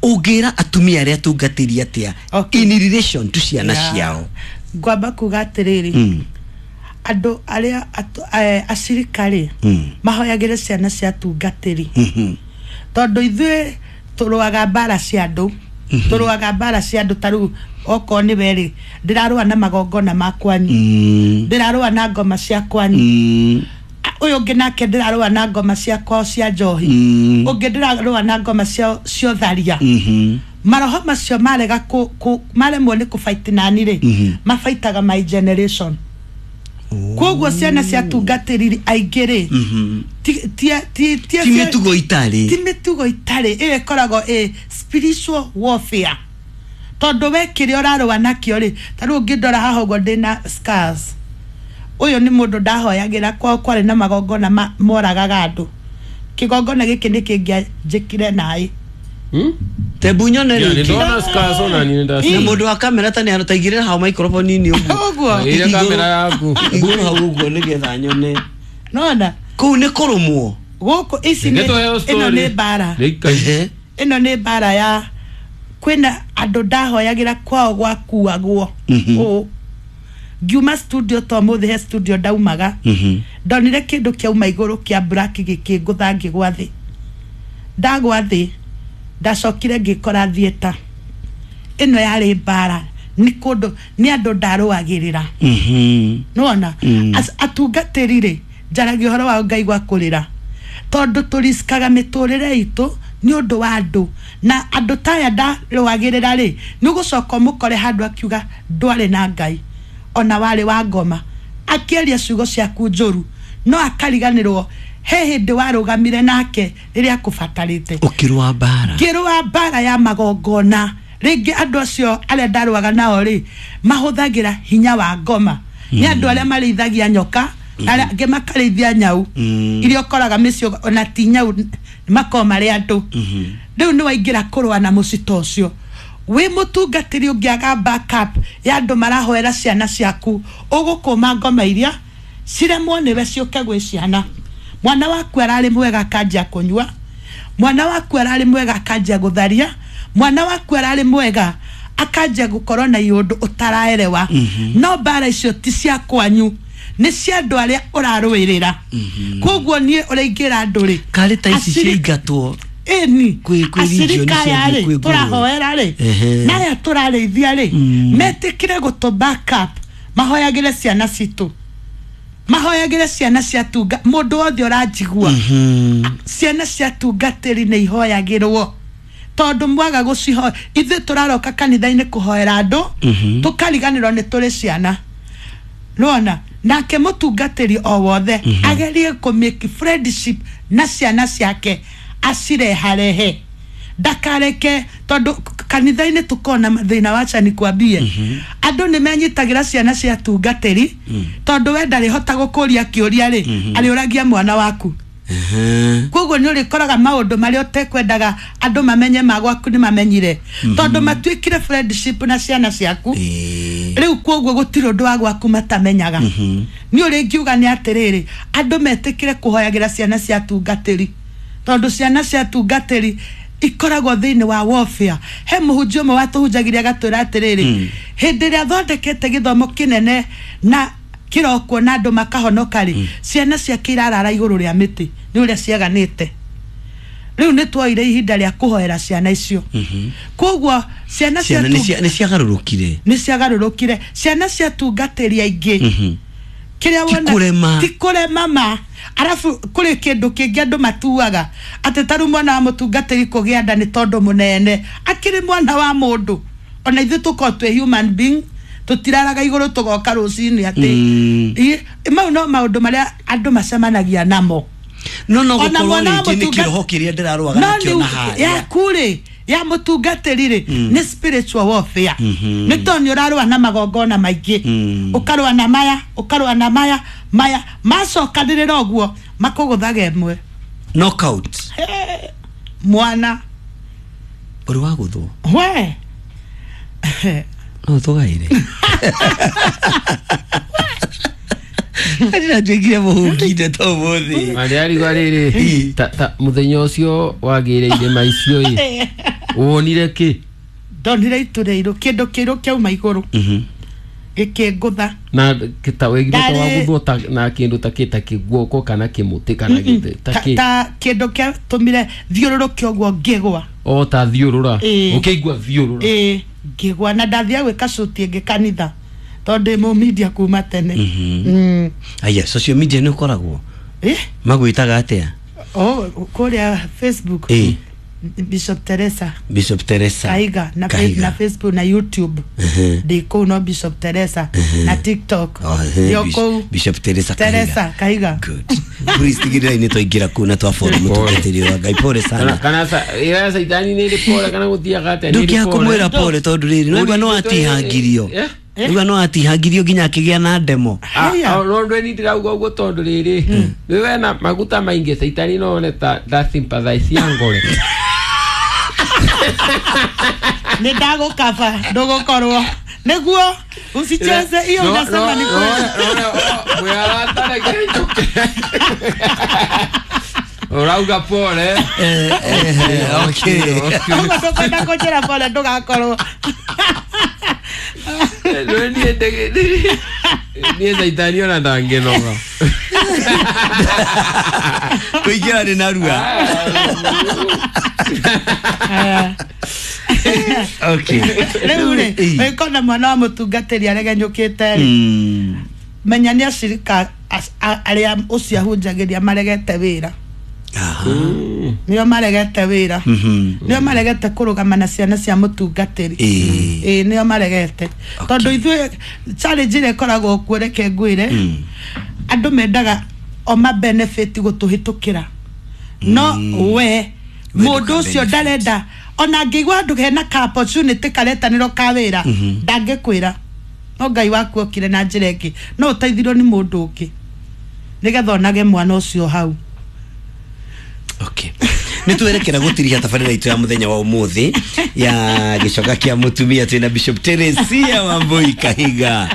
Ũngĩra atumia arĩa atungatĩri atĩa Okay. in relation to ciana Yeah. ciao? Ngwamba kuga atĩrĩrĩ, Mm. andũ arĩa atu- eh, acirika rĩ, Mm. mahoyagĩre ciana cia atungatĩri, Mhm. tondũ ithuĩ tũrũaga mbara cia andũ, tũrũaga mbara cia andũ. Ta rĩu okorwo nĩ werĩ, ndĩrarũa na magongona ma kwanyu, Mm. ndĩrarũa na ngoma cia kwanyu. Mm. A- ũyũ ũngĩ nake ndĩrarũa na ngoma cia kwao cia njohi, Mm. ũngĩ ndĩrarũa na ngoma cia cia ũtharia. Mhm. Maroho macio marega kũ- kũ- maremwo nĩ kũbaiti nani rĩ, Mhm. mabaitaga my generation. Koguo ciana cia tungatĩri aingĩ rĩ, Mhm. ti- ti- ti- ti- ti mĩtugo itarĩ. Ti mĩtugo itarĩ. Ĩyo ĩkoragwo ĩ spiritual warfare, tondũ we kĩrĩa ũrarũa nakĩo rĩ, ta rĩu ũngĩndora haha ũguo ndĩna scars, ũyũ nĩ mũndũ ndahoyagĩra, kwao kwarĩ na magongona ma- moragaga andũ. Kĩgongona gĩkĩ nĩ kĩngĩanjĩkire naĩ. Tebu nyone Yeah, rĩngĩ. nĩndona scars ona niĩ Na nĩndaciona. mũndũ wa kamera ta nĩ arataigĩrĩra hau microphone -inĩ ũguo. Ũguo. Ĩrĩa kamera yaku. Igũrũ hau ũguo nĩgetha nyone. Nona Kũu nĩ kũrũmwo. gũkũ ici Reke nĩ tũheo ĩno story. nĩ mbara. Rĩika- Ehe. Ĩno nĩ mbara ya kwĩna andũ ndahoyagĩra kwao gwakuagwo. Mhm. Ũũ ngiuma studio to mũthĩ, he studio ndaumaga, Mhm. ndonire kĩndũ kĩauma igũrũ kĩa black gĩkĩngũtha, ngĩgwa thĩ. Ndagwa thĩ ndacokire ngĩkora theatre. Ĩno yarĩ mbara, nĩ kũndũ nĩ andũ ndarũagĩrĩra. Mhm. Nĩwona? Mm. As- atungatĩri rĩ, njaragia ũhoro wa Ngai gwa kũrĩra, tondũ tũrisikaga mĩtũrĩre itũ nĩ ũndũ wa andũ, na andũ taya ndarũagĩrĩra rĩ, nĩ ũgũcoka ũmũkore handũ akiuga ndwarĩ na Ngai ona warĩ wa ngoma, akĩaria ciugo ciaku njũru, no akariganĩrwo he hĩndĩ warũgamire nake rĩrĩa akũbatarĩte. Ũkĩrũa mbara. Ngĩrũa mbara ya magongona. Rĩngĩ andũ acio arĩa ndarũaga nao rĩ, mahũthagĩra hinya wa ngoma, nĩ andũ arĩa marĩithagia nyoka na arĩa angĩ makarĩithia nyau, Mm. iria ũkoraga mĩciĩ ona ti nyau, makorwo marĩ andũ. Rĩu nĩ waingĩra kũrũa na mũcito ũcio wĩ mũtungatĩri, ũngĩaga backup ya andũ marahoera ciana ciaku, ũgũkũma ngoma iria ciremwo nĩwe ciũke gwĩ ciana. Mwana waku ararĩ mwega akanjia kũnyua, mwana waku ararĩ mwega akanjia gũtharia, mwana waku ararĩ mwega akanjia gũkorwo na iũndũ ũtaraerewa. No mbara icio ti cia kwanyu, nĩ cia andũ arĩa ũrarũĩrĩra. Koguo niĩ ũrĩa ingĩra andũ rĩ, Karĩ ta ici acirika- ciaingatwo ĩni Kwĩ- kwĩ region acirika aya ciathiĩ rĩ, kwĩ nguruwe. tũrahoera rĩ, Ehe. na aya tũrarĩithia rĩ, metĩkĩre gũtũ backup, mahoyagĩre ciana citũ, mahoyagĩre ciana cia tunga. Mũndũ wothe ũranjigua, ciana cia tungatĩri nĩ ihoyagĩrwo, tondũ mwaga gũcihoya, ithuĩ tũraroka kanitha-inĩ kũhoera andũ, tũkariganĩrwo nĩ tũrĩ ciana. Nona nake mũtungatĩri o wothe agerie kũ make friendship na ciana ciake, acireharehe, ndakareke, tondũ kanitha-inĩ tũkona mathĩna. Wacha nikwambie, andũ nĩ menyitagĩra ciana cia tungatĩri, tondũ we ndarĩhota gũkũria kĩũria rĩ, arĩũragia mwana waku. Ehe. Koguo nĩ ũrĩkoraga maũndũ marĩa ũtekwendaga andũ mamenye ma gwaku nĩ mamenyire, tondũ matuĩkire friendship na ciana ciaku. Ĩĩ. Rĩu koguo gũtirĩ ũndũ wa gwaku matamenyaga. Nĩ ũrĩ ngiuga nĩ atĩrĩrĩ, andũ metĩkĩre kũhoyagĩra ciana cia tungatĩri, tondũ ciana cia tungatĩri ikoragwo thĩinĩ wa warfare. He mũhunjia ũmwe watũhunjagĩria agatwĩra atĩrĩrĩ, hĩndĩ ĩrĩa athondekete gĩthomo kĩnene na kĩrokwo na andũ makahonoka rĩ, ciana ciake irarara igũrũ rĩa mĩtĩ nĩ ũrĩa ciaganĩte. Rĩu nĩ twoire ihinda rĩa kũhoera ciana icio. Koguo ciana Ciana nĩ cia- nĩ ciagarũrũkire. Nĩ ciagarũrũkire. Ciana ciatungatĩri aingĩ kĩrĩa Ti wona kũrema. Ti kũrema ma. Arabu kũrĩ kĩndũ kĩngĩ andũ matuaga atĩ ta rĩu mwana wa mũtungatĩri kũgĩa nda nĩ tondũ mũnene akĩrĩ mwana wa mũndũ. Ona ithuĩ tũkorwo twĩ human being, tũtiraraga igũrũ tũgoka rũcinĩ atĩ. Mm. Ĩ- mau no maũndũ marĩa andũ macemanagia namo. No no Ona gũkorwo mwana wa rĩngĩ nĩ mũtunga- kĩroho kĩrĩa ndĩrarũaga no nakĩo nĩ na harĩa. Yaku rĩ, ya mũtungatĩri rĩ, nĩ spiritual warfare, nĩ tondũ nĩ ũrarũa na magongona maingĩ. Mm. Ũkarũa na maya, ũkarũa na maya, maya macokanĩrĩra ũguo makũgũthaga ĩmwe. Knockout. He, mwana. Ũrĩ wa gũthwo? We. No tũgaire ndĩratuĩkire mũhunginde to mũthĩ. Marĩa arigwa rĩrĩ ta ta mũthenya ũcio wagĩire irĩma icio ĩ, wonire kĩ? Ndonire itu rĩirũ, kĩndũ kĩirũ kĩauma igũrũ gĩkĩngũtha. Na ta wegire ta Ndarĩ- waguthwo ta na kindu ta kĩ, ta kĩguoko kana kĩmũtĩ kana gĩtĩ ta ta kĩ? Ta kĩndũ kĩatũmire thiũrũrũke ũguo ngĩgwa. O ta thiũrũra? Ĩĩ. Ũkĩigua thiũrũra? Ĩĩ, ngĩgwa na ndathiaga gwĩka cuti ĩngĩ kanitha tondũ ndĩ mũmindia kuma tene. Mm. Aya, social media nĩ ũkoragwo? Eh? Magwĩtaga atĩa? Oh, kũrĩa Facebook? Ĩĩ. Bishop Teresa. Bishop Teresa Kahiga na, Kahiga. na Facebook na YouTube. Mhm. Ndĩ kũu no Bishop Teresa, na TikTok. Oh, eh, ndĩ o Bishop- kũu. Bishop Teresa. Teresa Kahiga. Good. Please tigĩrĩrai nĩ twaingĩra kũu na twafollow mũtungatĩri wa Ngai. Pole kana sana. Kana sa ira caitani nĩ ĩrĩ pole kana gũthiaga atĩa nĩ ĩrĩ Ndũkĩaga pole? kũmwĩra pole tondũ rĩrĩ no no atihangirio. Eh? Nĩgua no atihangirio nginya akĩgĩa na ndemo. Ah, Haya. ah, no ndwe ni ndĩrauga ũguo tondũ rĩrĩ rĩ wena maguta maingĩ caitani no one ta ta sympathize ya ngore. Nĩ ndagũkaba ndũgũkorwo nĩguo usicheze hiyo. No, Unasema no, ni no, kweli. no, no, mwĩ arata reke njũke. Ũrauga pole. Eh, eh, okay. Ũguo ndũkwenda kũnjĩra pole ndũgakorwo. Rĩu niĩ ndĩ- niĩ caitani ona ndangĩnoga. Kũingĩra nĩ narua. Okay. Rĩu rĩ, Ĩĩ. ũngĩkona mwana wa mũtungatĩri aregenyũkĩte rĩ, Mm. menya nĩ acirika as- a- arĩa ũcio ahunjagĩria maregete wĩra. Aha. Nĩo maregete wĩra. Mhm. Nĩo maregete kũrũgama na ciana cia mũtungatĩri. Ĩĩ. Ĩĩ, nĩo maregete tondũ ithuĩ challenge ĩrĩa ĩkoragwo kuo, reke ngwĩre, Mm. andũ mendaga o ma benefit gũtũhĩtũkĩra, no we We mũndũ ndũka ũcio benefit. ndarenda ona angĩigua handũ hena ka opportunity karetanĩrwo ka wĩra, ndangĩkwĩra. No Ngai waku okire na njĩra ĩngĩ, no ũteithirio nĩ mũndũ ũngĩ nĩgetha onage mwana ũcio hau. Okay. Nĩ twerekera gũtiriha tabarĩra itũ ya mũthenya wa ũmũthĩ ya gĩcoka kĩa mũtumia twĩna Bishop Teresia Wambui Kahiga.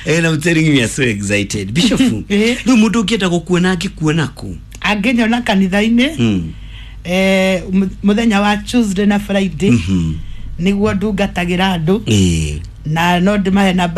And I'm telling you, we are so excited. Bishop, Eh. rĩu mũndũ ũngĩenda gũkuona angĩkuona kũ? Angĩnyona kanitha-inĩ Mm. eh, mu- mũthenya wa Tuesday na Friday Mhm. nĩguo ndungatagĩra andũ. Ĩĩ. Na no ndĩmahe namba.